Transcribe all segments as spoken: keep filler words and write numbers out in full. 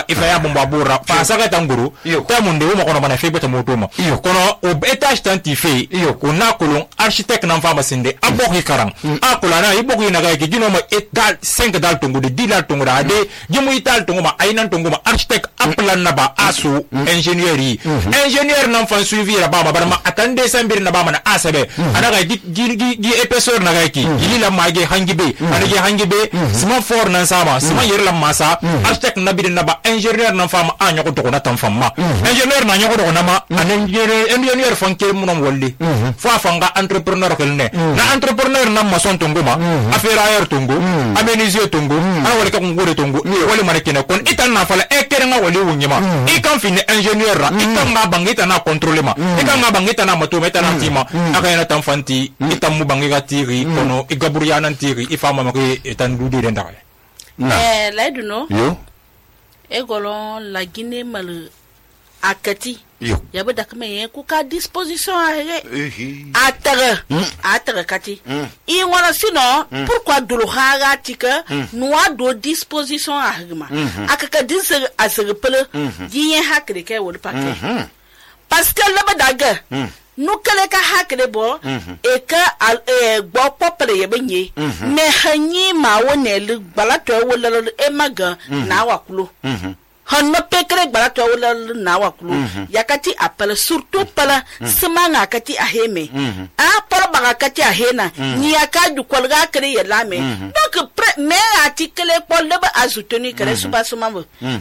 ma ifa ya bomba bora fa saka tanguru ta munde wo ma kono bana fe beta moto ma kono o etage tanti fe ko na kolon architecte nan fa ma sinde aboki karang a kolana iboki na ga ki jino ma etal cinq dal tongo de dix dal tongo da de jimu ital tongo ma ainan tongo ma architecte aplan na ba asu ingénieur yi ingénieur nan fan suivi ra ba ma bar ma atande sambir na ba ma na asabe ana ga gi gi gi épaisseur na ga ki gi la ma ge hangibe ana ge hangibe sima for nan sama sima yer la masa architecte na bi na ba ingénieur nan fa ma anya ko to na tan famma ingénieur na nyako to na ma an ingénieur ingénieur fan ke mu non wolli fa fanga entrepreneur kelne na entrepreneur nan mason tongo ma affaire tongo aménisier tongo ana wala ka ngore tongo wala marekene kon itan na fala e kere nga wali wunyima i kan fini ingénieur ra i kan nga bangita na contrôler ma i kan nga bangita na mato meta na tima aka yana tan fanti itam mu bangiga tiri kono i gaburia nan tiri i fama ma ke etan dudi den dare eh la duno yo e golon la Guinée mal akati yo yabe dakme ye ku ka disposition a atara atara kati i ngona sino pourquoi dulu haga tika noa do disposition a hagma akaka dinse asere pele giyen hakre ke wol paquet parce que le badaga nu kale ka hakre bo e ka al e gbo popele ye benye me hanyi ma wonel balato wol e maga na wakulo hanno pekre barato wala na wakulu yakati apala surtout pala semanga kati aheme a pala baga kati ahena ni yakaju kolga kre yelame donc me article pol de azutoni kre subasuma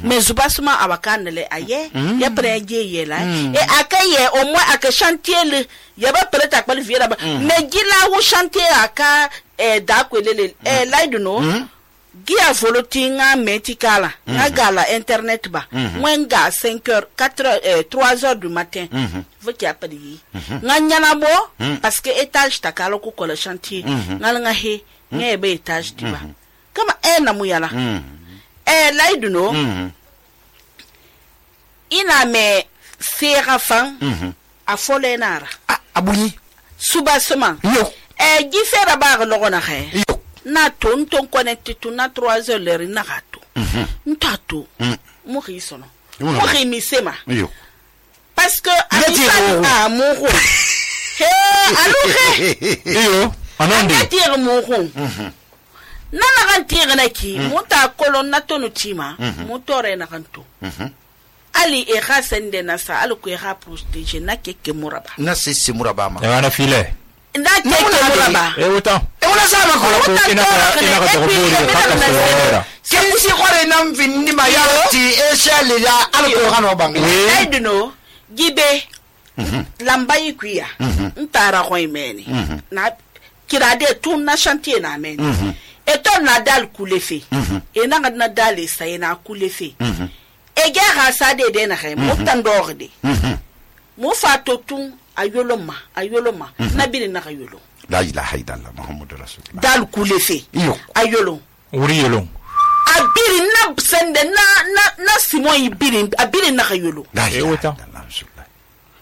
mais subasuma abakanele aye ya preje yela e akaye au moins aka chantier le yaba preta pal viera ba me gila wo chantier aka e dakwelele e laiduno Gia volotinga metikala nga gala internet ba mwenga cinq heures quatre heures trois heures du matin voti apadi nga nyana bo parce que étage takalo ko ko le chantier nga nga he nga be étage tiba kama e na muyala e laiduno ina me serafan a folenara abuni subasement yo e gifera ba lo na he na ton ton connecté tout na trois heures l'heure na gato ntato mo risono mo rimisema yo parce que a mo ro he aluhe yo anonde tire mo ro na na kan tire na ki mo ta kolon na tonu tima mo tore na kanto ali e khasende na sa alu ko e ha protéger na keke muraba na sisi muraba ma ya na file na keke muraba e wuta Una sama ko ina ka ina ka to bori ka ka sora kensi kore nam finni ma yati e shali ya alko hano bang I don't know gibe lamba yikuya ntara ko imeni na kirade tun na chantier na meni eto na dal kulefe e na na dal sai na kulefe e ga ha sa de de na he mo tandorde mo fato tun ayoloma ayoloma na bi na ayolo la ilaha illallah muhammadur rasulullah dal kulefe ayolo wuri yolo abiri na sende na na na simon ibiri abiri na ayolo la ilaha illallah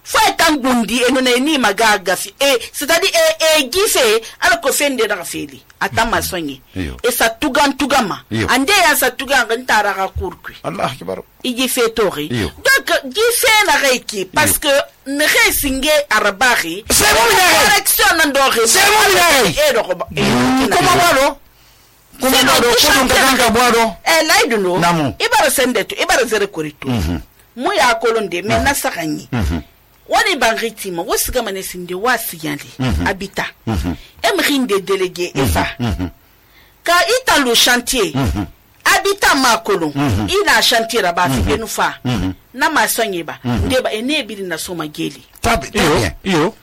fa tangundi eno na ni magaga fi e c'est-à-dire e e gife ala ko fende na feli atama sonyi e sa tugan tugama ande ya sa tugan ntara ka kurkui allah akbar i gife tori donc gife na reiki parce que ne resinge arabari c'est mon direction ndore c'est mon e do ko comment walo comment walo ko dum kanga boado e laiduno ibara sende to ibara zere korito mu ya kolonde me na sakanyi wani bangitima wasiga manesinde wasiyali habita emrinde délégué eva ka ita le chantier habita makolo ina chantier raba fi benufa na masonye ba ndeba enebiri na soma geli tabi yo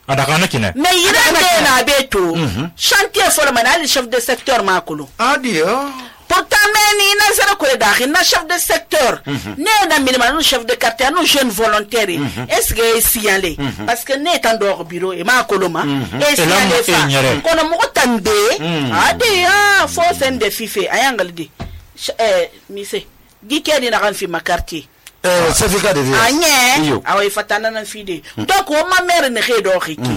adaka na kina mais yirande na beto chantier forma na le chef de secteur makolo adio pourtant meni na zero ko da na chef de secteur né na minimum chef de quartier no jeune volontaire est-ce que signalé parce que né tan do bureau e ma koloma et signalé fa kono mo tande ade ah fo sende fife ayangal di eh mise gikedi na kan fi ma quartier euh certificat de vie anye awa fatana na fide donc o ma mère ne xé do xiki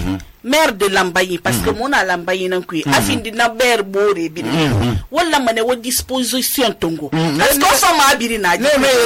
mère de Lambaye parce que mon Lambaye nan kui afindi na ber bore bi wala mané wo disposition tongo parce que so ma biri na